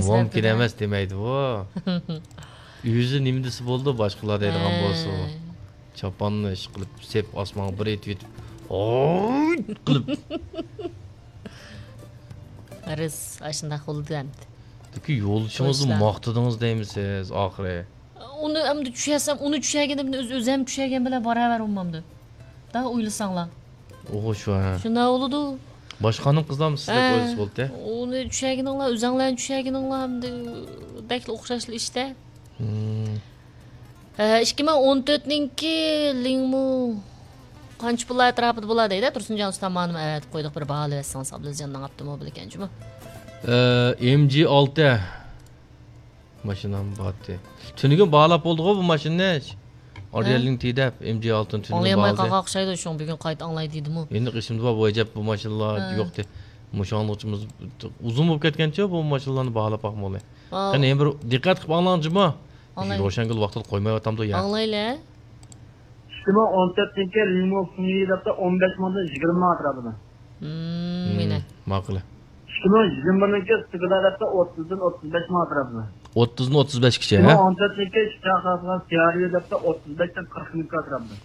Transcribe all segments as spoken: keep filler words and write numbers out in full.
مۇمكىن ئەمەس دېمەيدىغۇ. ئۆزى نېمە دېسە بولىدۇ، باشقىلار دەيدىغان بولسا. چاپاننى ئىش قىلىپ، سېپ ئاسمانغا بىر ئېتىۋېتىپ، ھوي قىلىپ. غەرىز، ئاشۇنداق بولىدۇ ئەمدى. لېكىن يولدىشىڭىزنى ماختىدىڭىز دەيمىسىز ئاخىرى. ئۇنى ئەمدى چۈشەرسەم، ئۇنى چۈشەرگىنىمنى ئۆز-، ئۆزەم چۈشەرگەن بىلەن باراۋەر بولمامدۇ؟ دا ئويلىساڭلار. ئوغۇ شۇ، ھە. شۇنداق بولىدۇ. باشقا خانىم قىزلارمۇ سىزدەك ئويلىسا بولدى. ئۇنى چۈشەرگىنىڭلار، ئۆزەڭلارنى چۈشەرگىنىڭلار ئەمدى بەكلا ئوخشاشلا ئىشتە. ھە، ئىككى مىڭ ئون تۆتنىڭكى لىڭمۇ قانچە پۇللار ئەتراپىدا بولا دەيدۇ. تۇرسۇنجان ئۇستام ماڭىمۇ ئەۋەتىپ قويدۇق، بىر باھالىۋەتسىڭىز، ئابلىزجاننىڭ ئاپتوموبىلى ئىكەن جۇمۇ. ئە، ئېم جى ئالتە. ماشىنام بارتى. تۈنۈگۈن باھالاپ بولدىغۇ بۇ ماشىنىنى. ئارىيەلنىڭ تى دەپ، ئېم جى ئالتىنى تۈنۈگۈن ئاڭلىيالماي باھالىدى. قالغان ئوخشايدۇ، شۇڭا بۈگۈن قايتا ئاڭلاي دېدىمۇ. ئېنىق ئېسىمدە بار، بۇ ئەجەب بۇ ماشىنىلار يوقتى. مۇشۇ ئاڭلىغۇچىمىز ئۇزۇن بولۇپ كەتكەنچۇ بۇ ماشىنىلارنى باھالاپ باقمىغىلى. قېنى، يەنە بىر دىققەت قىلىپ ئاڭلاڭ جۇمۇ. ئاڭلايلى. روشەنگۈل ۋاقتىدا قويمايۋاتامدۇ يا؟ ئاڭلايلى. ئىككى مىڭ ئون تۆتنىڭكى لىڭمۇ فېڭيى دەپتۇ، ئون بەش مىڭدىن يىگىرمە مىڭ ئەتراپىدا. مم، ماقۇل. ئىككى مىڭ يىگىرمە بىرنىڭكى سىگىدا دەپتۇ، ئوتتۇزدىن ئوتتۇز بەش مىڭ ئەتراپىدا. ئوتتۇزدىن ئوتتۇز بەشكىچە، ھە؟ ئىككى مىڭ ئون تۆتنىڭكى ئىككى چاقىرىدىغان سىيارىيو دەپتۇ، ئوتتۇز بەشتىن قىرىق مىڭ ئەتراپىدا.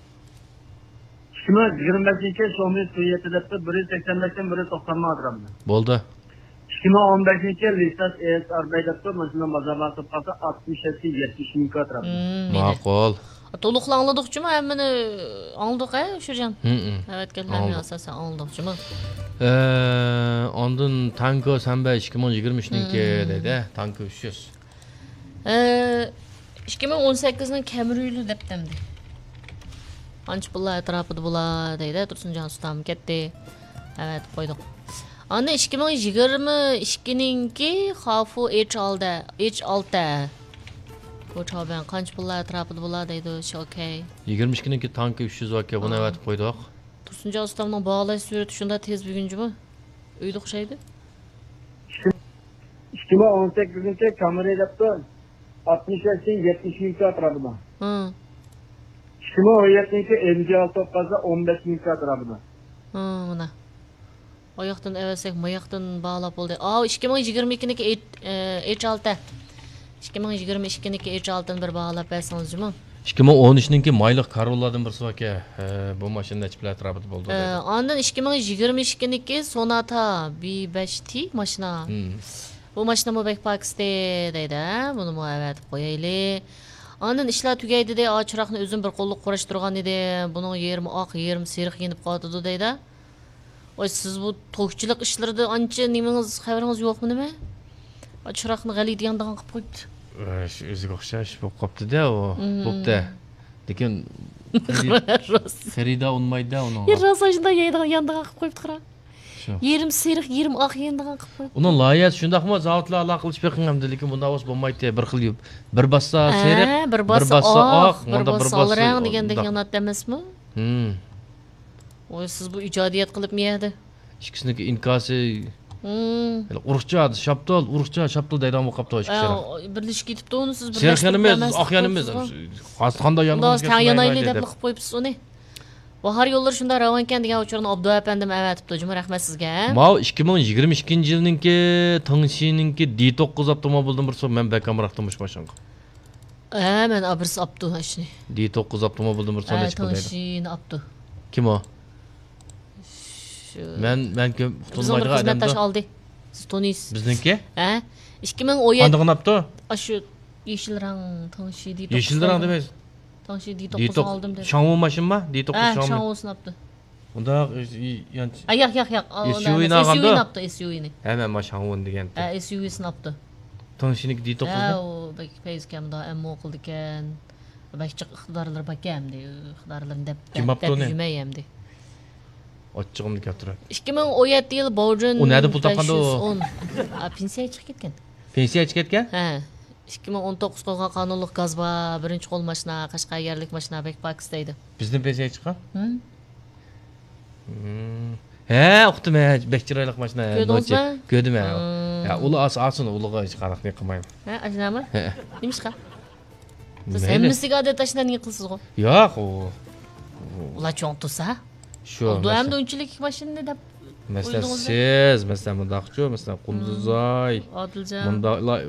ئىككى مىڭ يىگىرمە بەشىنچى شاۋمى سۈيەتى دەپتۇ، بىر يۈز سەكسەن بەشتىن بىر يۈز توقسان مىڭ ئەتراپىدا. بولدى. ئىككى مىڭ ئون بەشىنچى لىساس ئېس ئار بەي دەپتۇ، ماشىنا بازار باھاسى قالسا ئاتمىش يەتتە، يەتمىش مىڭ ئەتراپىدا. مم، ماقۇل. تولۇقلا ئاڭلىدۇقچىمۇ ھەممىنى؟ ئاڭلىدۇق ھە شۇجان؟ ھەۋەتكەنلەرنى ئاساسەن ئاڭلىدۇقچىمۇ. ئە، ئاندىن تانكو سەنبەي ئىككى مىڭ يىگىرمە ئۈچنىڭكى دەيدۇ، تانكو ئۈچ يۈز. ئىككى مىڭ ئون سەككىزنىڭ كامرىيلى دەپتۇ ئەمدى. قانچە پۇللار ئەتراپىدا بولا دەيدۇ، تۇرسۇنجان ئۇستام كەتتى. ئەۋەتىپ قويدۇق. ئاندىن ئىككى مىڭ يىگىرمە ئىككىنىڭكى خافۇ ئېچ ئالتە، ئېچ ئالتە. بۇ چاۋبەن قانچە پۇللار ئەتراپىدا بولا دەيدۇ، شۇ ئوكەي. يىگىرمە ئىككىنىڭكى تانكى ئۈچ يۈز ئاكا، بۇنى ئەۋەتىپ قويدۇق. تۇرسۇنجان ئۇستامنىڭ باھالاش سۈرئىتى شۇنداق تېز بۈگۈن جۇمۇ. ئۆيدە ئوخشايدۇ. ئىككى مىڭ ئون سەككىزىنچى كامرى دەپتۇ، ئاتمىش بەشتىن يەتمىش مىڭ ئەتراپىدا. ھە. ئىككى مىڭ ئون يەتتىنچى ئېم جى ئالتە بولۇپ قالسا، ئون بەش مىڭ ئەتراپىدا. ھە، مانا. ئاياقتىن ئەۋەتسەك، ماياقتىن باھالاپ بولدى. ئاۋۇ ئىككى مىڭ يىگىرمە ئىككىنىڭكى ئېچ، ئېچ ئالتە. ئىككى مىڭ يىگىرمە ئىككىنىڭكى ئېچ ئالتىنى بىر باھالاپ بەرسىڭىز جۇمۇ. ئىككى مىڭ ئون ئۈچنىڭكى مايلىق كارولادىن بىرسى باركەن. ھە، بۇ ماشىنا نەچچە پۇل ئەتراپىدا بولىدۇ دەيدۇ. ئاندىن ئىككى مىڭ يىگىرمە ئىككىنىڭكى سوناتا بى بەش تى ماشىنا. بۇ ماشىنىمۇ بەك پاكىستى دەيدۇ، ھە؟ بۇنىمۇ ئەۋەتىپ قويايلى. ئاندىن ئىشلار تۈگەي دېدى، ئا چىراغنى ئۆزۈم بىر قوللۇق قۇراشتۇرغان ئىدىم، بۇنىڭ يېرىمى ئاق، يېرىمى سېرىق يېنىپ قالىدۇ دەيدۇ. ۋاي، سىز بۇ توكچىلىق ئىشلىرىدا ئانچە نېمىڭىز، خەۋىرىڭىز يوقمۇ نېمە؟ چىراغنى غەلىتە ياندىغان قىلىپ قويۇپتۇ. ئە، شۇ ئۆزىگە ئوخشاش بولۇپ قاپتۇ-دە ئۇ. بوپتۇ. لېكىن خېرىدا ئۇنىمايدۇ-دە ئۇنىڭغا. راست ئاشۇنداق يەيدىغان، ياندىغان قىلىپ قويۇپتۇ قارا. شۇ. يېرىم سېرىق، يېرىم ئاق يەيدىغان قىلىپ قويۇپتۇ. ئۇنىڭ لايىھەسى شۇنداقمۇ؟ زاۋۇتلار ئالاقە قىلىشىپ بېقىڭ ئەمدى، لېكىن بۇنداق بولسا بولمايتتى. بىر خىل يۇ-، بىر باسسا سېرىق، بىر باسسا ئاق، مۇندا بىر باسسا سال رەڭ دېگەندەك ياناتتى ئەمەسمۇ؟ ھىم. ۋاي، سىز بۇ ئىجادىيەت قىلىپمۇ يەردە؟ ئىككىسىنىڭكى ئىنكاسى. ھىم. ئۇرۇقچە، شاپتۇل، ئۇرۇقچە، شاپتۇل دەيدىغان بولۇپ قاپتۇ ئىككىسى. ئە، بىرلىشىپ كېتىپتۇ ئۇنى سىز. سېرىق يانىمىز، ئاق يانىمىز. قانداق يانغىنىڭىز تەڭ يانايلى دەپ قىلىپ قويۇپسىز ئۇنى. باھار يوللىرى شۇنداق راۋانكەن دېگەن ئۇچۇرنى ئابدۇ ئەپەندىم ئەۋەتىپتۇ جۇمۇ، رەھمەت سىزگە. ماۋۇ ئىككى مىڭ يىگىرمە ئىككىنچى يىلنىڭكى تىڭشىنىڭكى دى توققۇز ئاپتوموبىلدىن بىرسى، مەن بەك ئامراقتىم مۇشۇ ماشىنىغا. ھە، مەن ئابرىس ئاپتۇ ئاشۇنى. دى توققۇز ئاپتوموبىلدىن بىرسى ھە، نەچچە پۇل دەيدۇ؟ تىڭشىنى ئاپتۇ. كىم ئۇ؟ شۇ مەن، مەن كۆپ بىزنىڭ بىر ئۇقتۇرمايدىغان خىزمەتداش ئادەمدۇ. ئالدى. سىز تونۇيسىز. بىزنىڭكى؟ ھە؟ ئىككى مىڭ ئون يەتتە. قاندىقىنى ئاپتۇ؟ ئاشۇ يېشىل رەڭ تىڭشى دى توققۇز. يېشىل رەڭ دېمەيسىز. تىڭشى دى توققۇزنى ئالدىم دېدى. شاڭۋۇ ماشىنىما؟ دى توققۇز ھە، شاڭۋۇ. شاڭۋۇسىنى ئاپتۇ. ئۇنداق، ئى، ئى، يان-، ئە، ياق، ياق، ياق. ئا، ئۇنداق ئەمەس. ئېسيۇۋىنى ئالغاندۇ؟ ئېسيۇۋىنى ئاپتۇ، ئېسيۇۋىنى. ھە، مەن ما شاڭۋۇنى دېگەنتىم. ھە، ئېسيۇۋىسىنى ئاپتۇ. تىڭشىنىڭكى دى توققۇزنى؟ ھە، ئۇ بەك پەيزىكەن، مۇنداق ئەمما ئوقۇلدىكەن. بەك جىق ئىقتىدارلىرى باركەن ئەمدى. ئىقتىدارلىرىنى دەپ، كىم دەپ، ئاپتۇ دەپ ئۇنى؟ يۈرمەي ئەمدى. ئاچچىقىمنى كەلتۈرۈپ. ئىككى مىڭ ئون يەتتە يىل باۋجىن ئۇ نەدە پۇل تاپقاندۇ؟ بەش يۈز ئون. ئا، پېنسىيەگە چىقىپ كەتكەن. پېنسىيەگە چىقىپ كەتكەن؟ ھە. ئىككى مىڭ ئون توققۇز قويغان قانۇنلۇق گاز بار، بىرىنچى قول ماشىنا، قەشقەر يەرلىك ماشىنا، بەك پاكىز دەيدۇ. بىزدىن پېنسىيەگە چىققان؟ ھىم. ھىم. ھە، ئۇقتۇم، ھە، بەك چىرايلىق ماشىنا، ھە، كۆردىڭىزمۇ؟ نوچى. كۆردۈم، ھە. ھىم. ھە، ئۇلار ئاس-، ئاسىن، ئۇلىغا ھېچ قانداق نېمە قىلمايمەن. ھە، ئاشۇنداقمۇ؟ ھە. نېمىشقا؟ سىز مەيلى. ھەممىسىگە ئادەتتە ئاشۇنداق نېمە قىلىسىزغۇ؟ ياق، ئۇ، ئۇ. ئۇلار چوڭ تۇرسا؟ شۇ، ئالدى مەسىلەن. ئەمدى ئۇنچىلىك ماشىنىنى دەپ مەسىلەن، ئويلىدىڭىزمۇ؟ سىز، مەسىلەن، مۇنداقچۇ، مەسىلەن، قۇندۇزاي. ھىم. ئادىلجان. مۇنداقلار